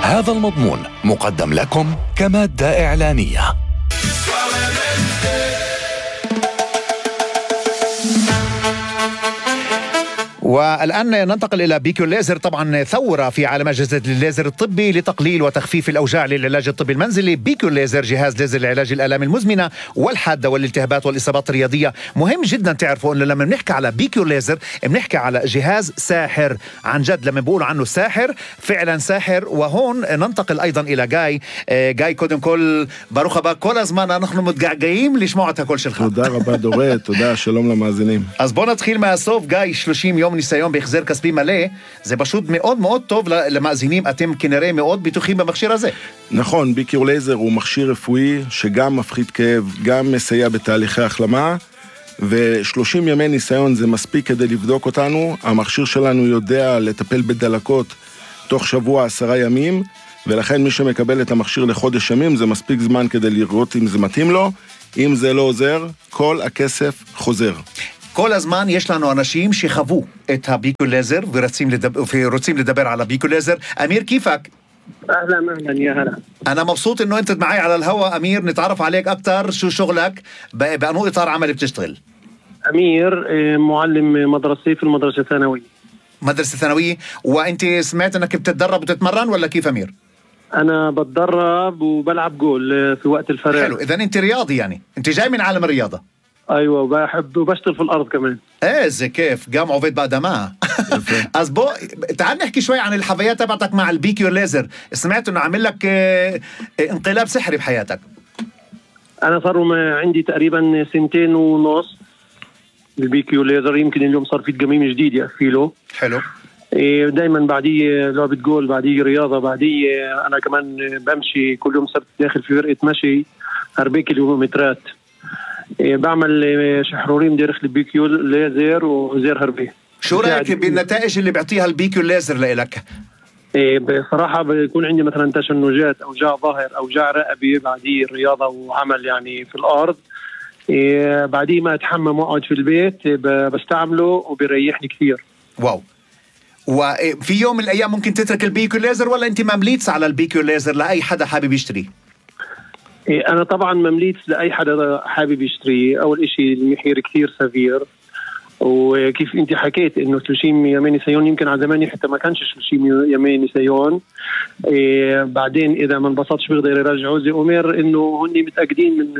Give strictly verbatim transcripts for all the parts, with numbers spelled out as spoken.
هذا المضمون مقدم لكم كمادة إعلانية. والآن ننتقل إلى بيكيو ليزر. طبعا ثورة في عالم أجهزة الليزر الطبي لتقليل وتخفيف الأوجاع للعلاج الطبي المنزلي. بيكيو ليزر جهاز ليزر لعلاج الآلام المزمنة والحادة والالتهابات والإصابات الرياضية. مهم جدا تعرفوا أنه لما بنحكي على بيكيو ليزر بنحكي على جهاز ساحر عن جد. لما بيقولوا عنه ساحر فعلا ساحر. وهون ننتقل أيضا إلى جاي. جاي קודם כל ברוך הבא. כל הזמן אנחנו מתגעגעים לשמוע את הקול שלך. תודה רבה דורית, תודה, שלום למאזינים. אז בוא נתחיל מהסוף. גיא, שלושים יום ניסיון בהחזר כספי מלא, זה פשוט מאוד מאוד טוב למאזינים. אתם כנראה מאוד בטוחים במכשיר הזה. נכון, ביקור לייזר הוא מכשיר רפואי שגם מפחית כאב, גם מסייע בתהליכי החלמה, ו-שלושים ימי ניסיון זה מספיק כדי לבדוק אותנו. המכשיר שלנו יודע לטפל בדלקות תוך שבוע עשרה ימים, ולכן מי שמקבל את המכשיר לחודש ימים זה מספיק זמן כדי לראות אם זה מתאים לו. אם זה לא עוזר, כל הכסף חוזר. כל הזמן יש לנו אנשים שחוו את הביקו לייזר ורוצים לדבר, ורוצים לדבר على بيكو ليزر. أمير كيفك؟ أهلا أهلا يا هلا. أنا مبسوط إنه أنت معي على الهواء أمير. نتعرف عليك أكتر. شو شغلك؟ بأنو إطار عمل بتشتغل؟ أمير معلم مدرسي في المدرسة الثانوية. مدرسة ثانوية. وأنت سمعت إنك بتتدرب وتتمرن ولا كيف أمير؟ أنا بتدرب وبلعب جول في وقت الفراغ. حلو. إذن أنت رياضي يعني. أنت جاي من عالم الرياضة. ايوه وبحب وبشتغل في الارض كمان. ايه زي كيف قام عبيد بقدمها. אז בוא تعال نحكي شوي عن الحفايات تبعتك مع البيكيو ليزر. سمعت انه عامل لك انقلاب سحري بحياتك. انا صار عندي تقريبا سنتين ونص بالبيكيو ليزر. يمكن اليوم صار في تقميم جديد يقفله. حلو. دايما بعديه لعبة جول، بعديه رياضة، بعديه انا كمان بمشي كل يوم سبت داخل في فرقة مشي أربعة كيلومترات. بعمل شحرورين داخل البيكيو ليزر وزير هربي. شو رأيك بالنتائج اللي بيعطيها البيكيو ليزر لإلك؟ بصراحة بيكون عندي مثلا تشنجات أوجاع ظهر أوجاع رقبة بعديه رياضة وعمل يعني في الأرض. بعديه ما أتحمم وأقعد في البيت بستعمله وبيريحني كثير. واو. وفي يوم من الأيام ممكن تترك البيكيو ليزر ولا أنت ممليتس على البيكيو ليزر لأي حدا حابب يشتري؟ أنا طبعا ممليت لأي حدا حابب يشتري. أول إشي المحير كثير سفير، وكيف أنت حكيت إنه ثلاثين يومين نسيون، يمكن على زماني حتى ما كانش ثلاثين يومين نسيون. إيه بعدين إذا ما انبسطش بيقدر يرجعوا زي أمير إنه هني متأكدين من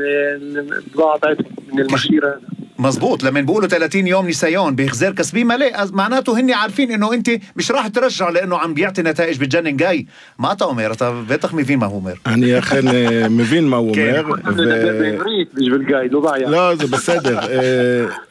البضاعة تاعتهم من المشير هذا. مزبوط. لما بيقولوا ثلاثين يوم نسيون بإخزار كسبي ملء معناته هني عارفين إنه أنت مش راح ترجع لأنه عم بيعطي نتائج بتجنن. جاي ما تا أمير بيتخ مفين ما هو أمير. אני אכן מבין מה הוא אומר. בעברית בשביל גיא, לא בעיה. לא, זה בסדר.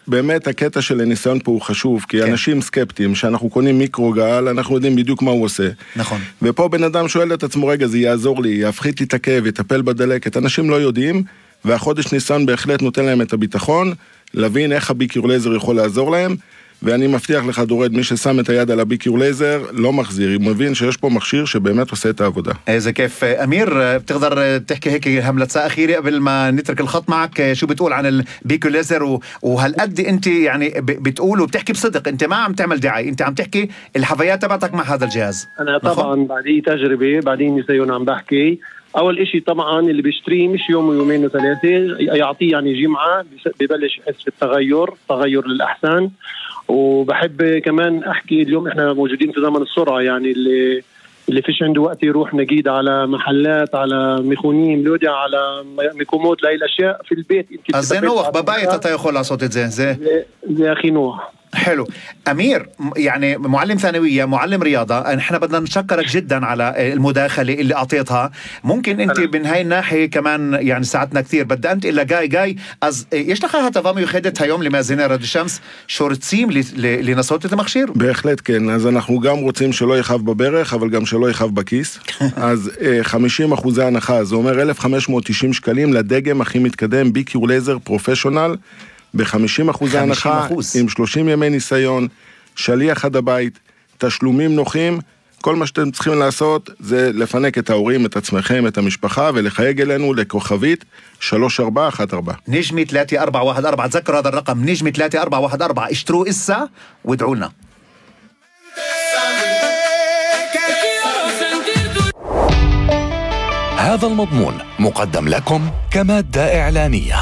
באמת הקטע של הניסיון פה הוא חשוב, כי אנשים סקפטיים, שאנחנו קונים מיקרוגל, אנחנו יודעים בדיוק מה הוא עושה. נכון. ופה בן אדם שואל את עצמו, רגע, זה יעזור לי, יפחית לי את הכאב, יטפל בדלקת. אנשים לא יודעים, והחודש ניסיון בהחלט נותן להם את הביטחון, להבין איך הביקור לייזר יכול לעזור להם, ואני מבטיח לך דורד, מי ששם את היד על הביקור לייזר לא מחזיר, הוא מבין שיש פה מכשיר שבאמת עושה את העבודה. إذا كيف أمير بتقدر تحكي هيك هملة أخيرة قبل ما نترك الخط معك؟ شو بتقول عن البيكو ليزر وهالقد أنت يعني بتقول وبتحكي بصدق، أنت ما عم تعمل دعاية، أنت عم تحكي الحفايات تبعتك مع هذا الجهاز. أنا طبعا بعدين تجربة بعدين نسيون عم بحكي. أول إشي طبعا اللي بيشتريه مش يوم ويومين وثلاثة، يعطيه يعني جمعة ببلش يحس بالتغير تغير للأحسن. وبحب كمان أحكي اليوم إحنا موجودين في زمن السرعة، يعني اللي اللي فيش عنده وقت يروح نجيد على محلات على ميخونيم لودي على ميكوموت لأي الأشياء في البيت. אז זה נוח, בבית אתה יכול לעשות את זה. זה זה הכי נוח. حلو. أمير يعني معلم ثانوية معلم رياضة، نحن بدنا نشكرك جدا على المداخلة اللي أعطيتها. ممكن أنت من هاي الناحية كمان يعني ساعدنا كثير. بدي أنت إلا جاي جاي אז יש לך הטבה מיוחדת היום למאזיני רדיו שמס שרוצים לנסות את המכשיר? בהחלט כן. אז אנחנו גם רוצים שלא יכאב בברך אבל גם שלא יכאב בכיס. אז חמישים אחוז הנחה, זה אומר אלף וחמש מאות ותשעים שקלים לדגם הכי מתקדם ביקור לייזר פרופשיונל ב-חמישים אחוז הנחה, עם שלושים ימי ניסיון, שליח עד הבית, תשלומים נוחים. כל מה שאתם צריכים לעשות זה לפנק את ההורים, את עצמכם, את המשפחה, ולחייג אלינו לכוכבית שלוש ארבע אחת ארבע. نجمة ثلاثة أربعة واحد أربعة. تذكروا هذا الرقم نجمة ثلاثة أربعة واحد أربعة. اشتروا إسا وادعوا لنا. هذا المضمون مقدم لكم كمادة إعلانية.